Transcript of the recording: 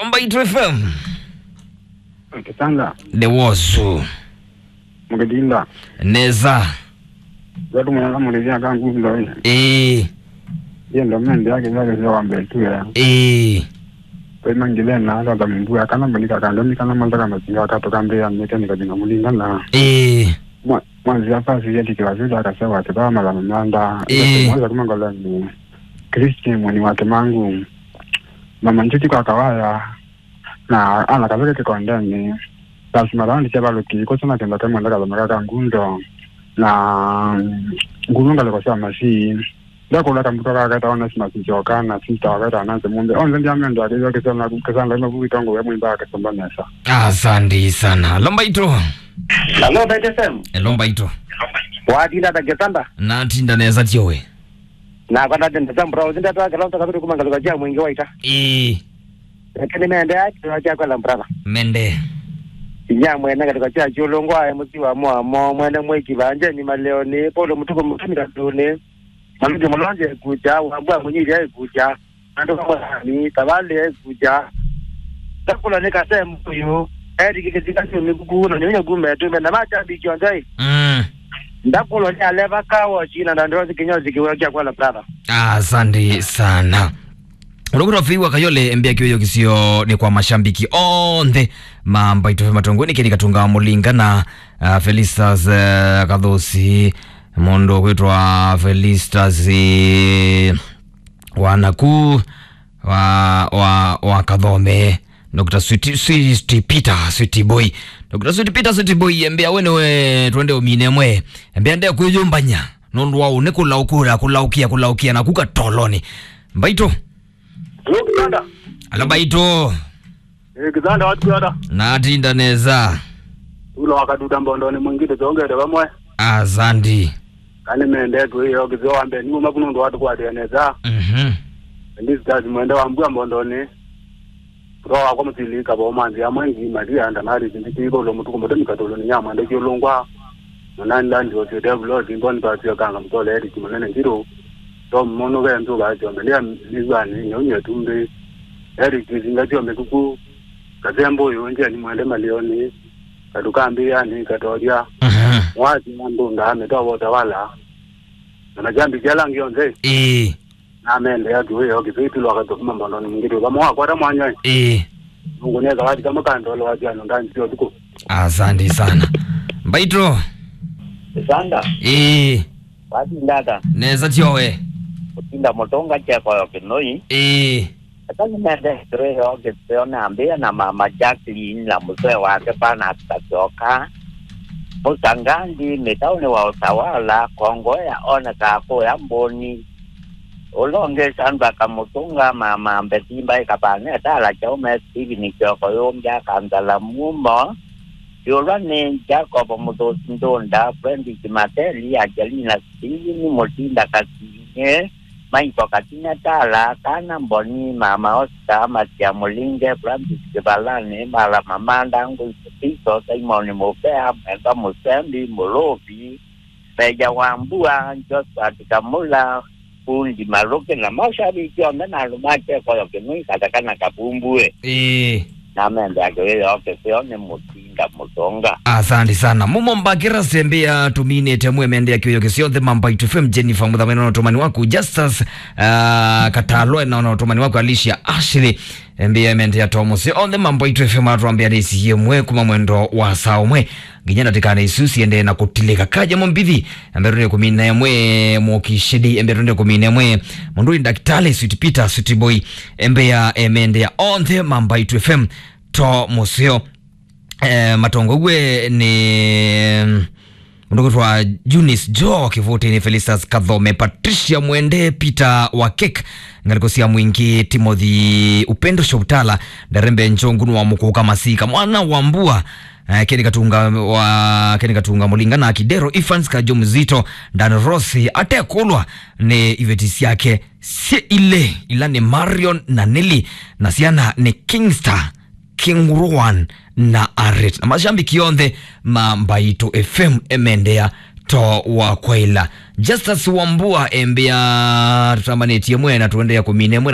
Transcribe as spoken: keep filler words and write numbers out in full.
Mbaitũ F M. Kitanda. Nĩ wosu. Mũkĩtinda. Nesa. Watu mwana mũrĩthia kangu ndoi. Ĩĩ. Yendo mende yake yake sio wambe tu ya. Ĩĩ. Kwa ima ngile na hata za mbu ya kana mulika kando ni kana mandaka mazinga wakati kambia nike nikajina mulinga na. Ĩĩ. Mwa- Mwanzia pasi yeti kiwazili akasema ati baa mala manda. Ĩĩ. Mwanza kuma ngolani. Kristi mwini wake mangu. Mama njuti kwa kawaya. Na ana kaveke kikondeni. Lazima raundi sya valuki kusoma kenda kamwe ndaka za makaka ngundo. Na ngulu ngaleko sya masi. Ndakula kambuto kaka taona sima sijoka na sita wakata ananze mumbe. Onze ndia mendo akizwa kisana kisana ino buitongo we mwimba akasomba nesa. Asante sana. Lomba ito. Hello, Bete Sam. Lomba ito. Watinda ta kitanda. Natinda nesa tiowe. Na kwa ndate ndata mbura uzinda ta kala ta kabiri kuma ngaluka ja mwingi waita. Eh. Lakini mende ya kila cha kwa brother. Mende. Inya mwene katika cha chulo ngwa ya musiwa mwa mwa mwene mweki banje ni maleo ni polo mutuko mutuni katuni. Maluke mulonje kuja wambwa munyiri ai kuja. Ando kama ni tabale ai kuja. Takula ni kasem kuyu. Eri kike tika ni kuku na nyonya gume tu na macha bi kionjai. Mm. Ndakulo ni aleva kawo china na ndio zikinyo zikiwa kwa brother. Asante sana. Ũlũkũta Fei wa Kayole, mbĩa kĩwĩyo kĩsio nĩ kwa mashambiki onthe ma Mbaitũ F M matongoni, Keni Katunga Mũlinga na, uh, Felistas, uh, Kathosi, mũndũ kwĩtwa Felistas, eh, wa naku, wa, wa, wa Kathome, Doctor Sweet, Sweet Peter, Sweet Boy. Doctor Sweet Peter, Sweet Boy, mbĩa we nĩwe twende ũmine mwe. Mbĩa nde kwĩyũmbanya, nũndũ wa ũnĩ kũlaũkũra, kũlaũkia, kũlaũkia, na kuka toloni. Mbaitũ. Hello, Kitanda. Alo, Mbaitũ. Eh, Kitanda, watu Kitanda. Natinda nesa. Ula wakaduda mbondo ni mwingine tongere vamwe. Asante. Kani mende tu hiyo kizo ambe ni mapunu ndo watu kwa nesa. Mhm. Ndisi tazi mwende wambua mbondo ni. Kũtwa wakwa mũsilika vau manzĩa amwe ngi malia ndanari zindikĩĩva ũlo mũtuku mũtemi katũlũnĩ ya mwenda kyũlũngwa. Mũnani landi osio devulo simboni pasio kanga mũtole eriki mũnene njirũ. Tom mũnũ ve nzũva syombe ndia nĩw'anĩ nyaumya tumbĩ. Eriki zinga syo mĩkuku. Kasembo ũyũ njeni mwende malioni. Katukambĩanĩ katolya. Mhm. Mwasi andũ ndaamĩtwa wotawala. Na majambi kyala ngionthe. Ĩĩ. Namende ya kiwe yo kifiti lwa kato kuma mbondo ni ngiri vamwe wakwata mwanya. Ĩĩ. Mungu neza wati kama kando lo wati ano ndani sio tuko. Asante sana. Mbaitũ. Sanda. Ĩĩ. Wati ndata. Nesa tiowe. Utinda mutonga cheko yo kinoi. Ĩĩ. Ata nimende kĩrĩo kĩseo nambĩĩa na mama Jacqueline na mũsee wake Bernard Kasyoka. Mũsangandi mĩtaũnĩ wa Utawala, Kongoea onekaa kũya Mbũni. Ũla ũngĩ Sandra Kamũtũnga, mama Mbethi Mbaĩ Kapaneta, ala Kyaume Stephen Kyoko Yũmbya, Kansala Mumo. Yũlwa nĩ Jacob Mũthũsi Ndũnda, Fredrick Mateli, Angelina Stephen Mũtinda Kasinye, Maiko Katinetala, Kana Mboni, Mama Oscar, Matia Mũlinge, Francis Kĩvalani, Mala Mamanda, Ngũi Mũtiso, Simon Mũvea, Mwenda Mũsembi, Mũlũvi, Meja wa Mbua, Josphat Kamũla, Fundi Malũkĩ, na mashabiki onthe na andũ ma kyekoyo kĩmwe katakana kavumbue. Ĩĩ. Na mende akĩwĩo kĩseo nĩ Mũtinda Mũtonga. Asante sana. Mumo Mbakira Sembea tuminĩte mwe mende akĩwĩo kĩseo the Mamba F M Jennifer Mũthamani na ũtũmani waku Justus, ah, Katalwe na ũtũmani waku Alicia Ashley. Mbĩa mende ya Thomas. Onthe Mamba F M atwambĩa nĩ C M we kuma mwendo wa saa ũmwe. Nginya ndatĩkane isu siendee na kũtilĩka. Kaja Mũmbithi, embere kũmina ĩmwe Mũkishidi, embere kũmina ĩmwe mũndũ nĩ Daktari Sweet Peter, Sweet Boy, embea emendea onthe Mamba F M to mũseo. Eh, matongowe nĩ mũndũ kwĩtwa Eunice Joe Kĩvũtĩnĩ, Felistas Kathome, Patricia Mwende, Peter Wakek, ngalĩko sya Mwingĩ, Timothy Upendo Shobutala, Ndarembe Njongu nĩ wa Mũkũka Masika, mwana wa Mbua, eh, Keni Katunga wa, Keni Katunga Mũlinga na Kidero, Evans Kajo Mzito, Dan Rossi, atekũlwa nĩ iveti syake syĩ ilĩ, ila nĩ Marion na Nelly, na syana nĩ Kingstar, King Ruan na Aret. Na mashambiki onthe ma Mbaitũ F M emendea to wa kwaila. Justus Wambua embea tũtambanĩtie mwe na tũendeea kũmina mwe.